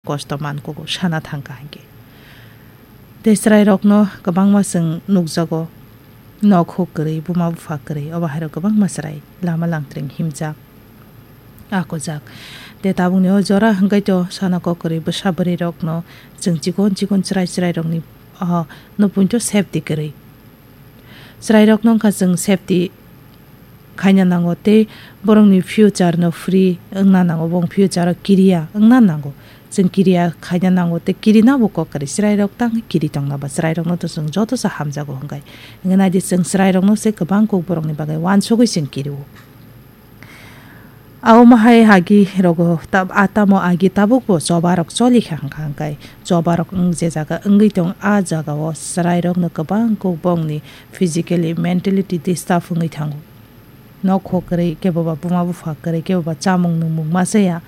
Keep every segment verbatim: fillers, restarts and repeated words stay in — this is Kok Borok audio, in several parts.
kosto man kugo sana thangkha hinkhe. Tei chwrairokno kwbangma chwng nukjago, nok huk kwrwi, buma bupha kwrwi, obo hairok kwbangma chwrai lama langtring himjak, akujak. Tei tabukni o jora hwnkhe to sana kok kwrwi bwsa bwrwirokno chwng chikon chikon chwrai chwrairokni, ah, no poito safety kwrwi. Chwrairokno wngkha chwng safety khaina nango tei borokni future no free wngna nango, bong future o kiriya wngna nango. Chwng kiriya khaina nango tei kirina bo kok kwrwi, chwrairok tang kiri tongna ba chwrairokno to chwng joto se hamjago hwnkhe. Hwnkhe naidi chwng chwrairokno se kwbang kok borokni bagwi uansugwi chwng kirio. Abo mahai agi rogo tab-, a tamo agi tabukbo choba rok choli kha hwnkha hwnkhe choba rok wng je jaga wngwi tong a jaga o chwrai rok no kwbang kok bongni physically, mentality disturb wngwi thango. Nok hok kwrwi kebo ba buma bupha kwrwi kebo ba chamung nungmung ma chaya.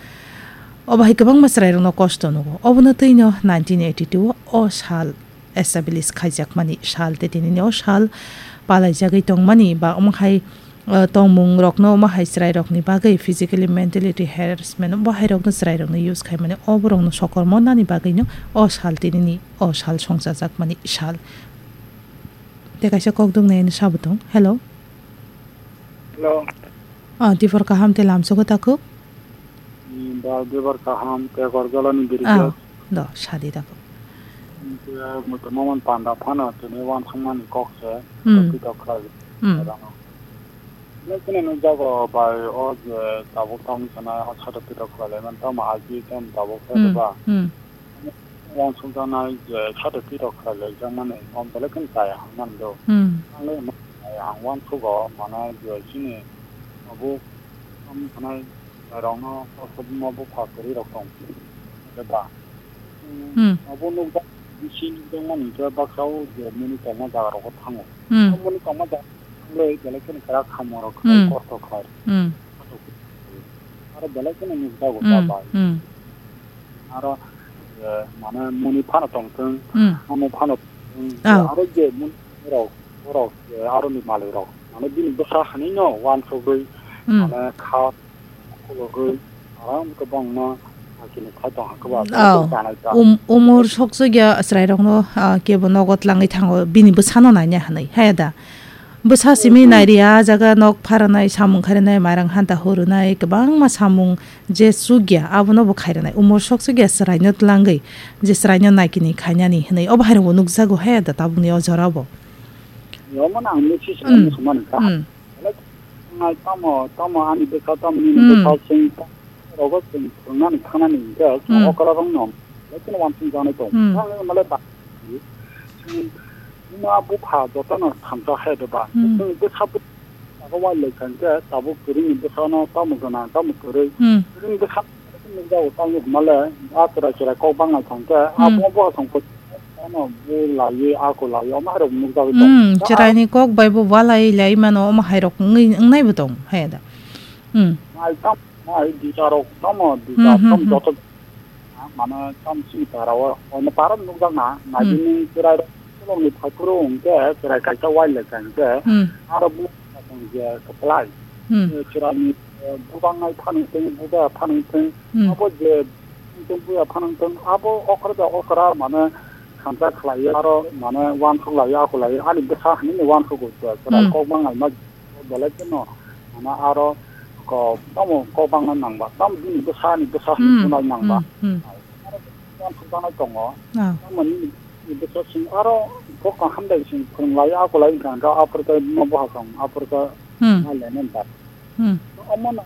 Obo hai kwbangma chwrai rok no kosto nugo. Obono twi no nineteen eighty two o sal establish khaijakmani sal tei tinini o sal palaijagwi tongmani ba omo hai, eh, tongmung rokno omo hai chwrai rokni bagwi physically, mentality harassment omo hai rokno chwrai rokno use khaimani o borokno sokormo nani bagwino o sal tinini o sal songchajakmani sal. Tei kaisa kokduk naini sabo tong. Hello. Hello. Ah, Dipor kaham tei lamsogo takhuk. Ni ba Dipor kaham tei Gorjolani biri. Ah, khe. Do, sadi takhuk. Ni khe muitu mamon panda phano tini wansukmani kok se. Hmm. Tokti tok khlai. Hmm. Rano. Ni khe ni jago bai o je tabuk tong sana o sato pitok khlai man tamo aji tem tabuk khe. Hmm. Ba. Hmm. Wansukjaknai je sato pitok khlai jakmani, o belai kheno chaya hwnmani do. Hmm. Ang le hwnmani chaya, ang uansugo, mane je chini abo, am, hwnai rokno kosto buma bupha kwrwi rok tong. Eba, hmm, abo nukjak, bisi nukjakmani hwnkhe baksa o je muni tongma jaga rogo thango. Hmm. O muni tongma jaga thanglwi belai kheno kwrak samung rok khlai, hmm, kosto khlai. Hmm. Aro belai kheno nukjago. Hmm. Chabai. Hmm. Aro, eh, mane muni phano tongthwng, hmm, amo phano tongthwng, oh, aro je muni rok, borok, eh, aroni malwi rok, mane bini bwsa hanino uansugwi, hmm, mane kha khulugwi, aram kwbangma, ah, chini khai tong hakhe ba, oh, chanai ta. Um-, umor sokchukya chwrairokno, ah, kebo nogo tlangwi thango, bini bwsano naina hwnwi, haya da? Bwsa simi, hmm, nairi, ah jaga nok pharanai, samung kharinai, mairang hanta hurunai, kwbangma samung je chukya, abono bo khairwnai. Umor sok chukya chwraino tlangwi, je chwraino naikini khainani hwnwi, obo hairokbo nukjago he da tabukni o jorabo. Omo no ang message, hmm, rwna sumani kha. Hmm. Belai nai tamo, tamo ani bwsa, tamo nini, hmm, bwsa, chwng rogo chwng thwngnani thangnani hwnkhe, hmm, okra rokno belai kheno uansukjaknai tongo. Hmm. Ang male ba, chwng buma bupha jotono thamsa hai de ba. Hmm. Chwng bwsa bwsa wai lai kha hwnkhe, tabuk kwrwini bwsano tamo gwnang, tamo kwrwi. Hmm. Kwrwini bwsa nukjago tamo hwnmale, a chwrai chwrai kok bangna thangkhe, hmm, abo bo asong ano bu laiwi, ako laiwi, omo hairok nukjagwi tongo. Hmm, chwraini kok bai bo walai lai mano, omo hairok wngwi, wngnai bo tongo, hai da. Hmm. Nai tam, nai disa rok tamo, disa, hmm, hmm, tam, hmm, joto mane tam simi para o, ono para nukjak na, hmm, naidi ni chwrai rok, kolom ni phaikuru hwnkhe, chwrai kaisa wai lai kha hwnkhe, hmm, aro bu je kwplai. Hmm. Eh, chwrai ni, eh, bubangnai phanang thung, buda phanang thung, hmm, abo je thung buya phanang thung, abo okra da okra mane khamsa khlai aro mane uansuk lai, ako lai, ani bwsa hinwi uansuk o, chwrai, hmm, kok bangnai ma. Belai kheno, mane aro ko-, tamo kok bangna nangba, tamo bini bwsani bwsa, hmm, hinwi nangba. Hmm, hmm. Aro tamo bangna tongo. Ah. Tamo nini bwsa sing aro kok kaham dai sing phwrwng lai, ako lai wngkha, hwnkhe aphuru khe buma bupha song, aphuru khe, hmm, ma lenen ta. Hmm. Omo no,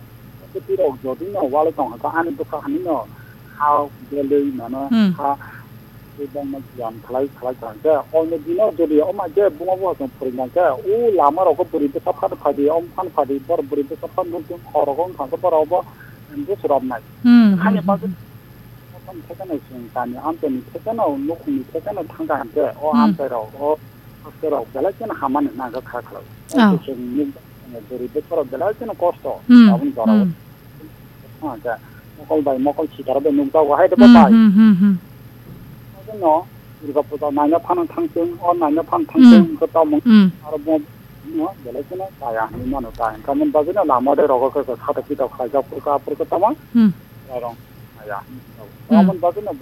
bwtwi rok jodi no wale tong kha, ani bwsa hani no ha belwi mano, hmm, ha Tei bangma giyan khlai khlai kha hwnkhe, oino dino jodi oma je buma bupha chwng phwrwngya hwnkhe, o lama rogo bwrwi bwsa phano phadi, omo phano phadi, bor bwrwi bwsa phano nukdi, khorok wngkha hwnkhe borok obo busuroknai. Hmm, hmm, hmm, hmm. Ani bagwi thekeno chwng kami amchaini thekeno, nukhungni thekeno thangkha hwnkhe, o, hmm, amchairok, o, hasteo rok belai kheno hamani nangkha kha khlai. Oh. Chwng nukjaknai bwrwi bwsarok belai kheno kosto. Hmm, aboni jorao. Hmm. Hwnkhe mokol bai mokol sitaro bai nukjago hai de. Hmm, batai. Hmm, hmm, hmm. Abono Durga puja naina phano thangthwng, o naina phano thangthwng, hmm, hwnkhe tamo, hmm, aro bo no belai kheno chaya hinwi mano ta. Hwnkhe aboni bagwino lama de rogo khe khe sato pito khlaijak phuru khe aphuru khe tamo, hmm, chwrairok chaya hinwi mano. Hmm. Aboni bagwino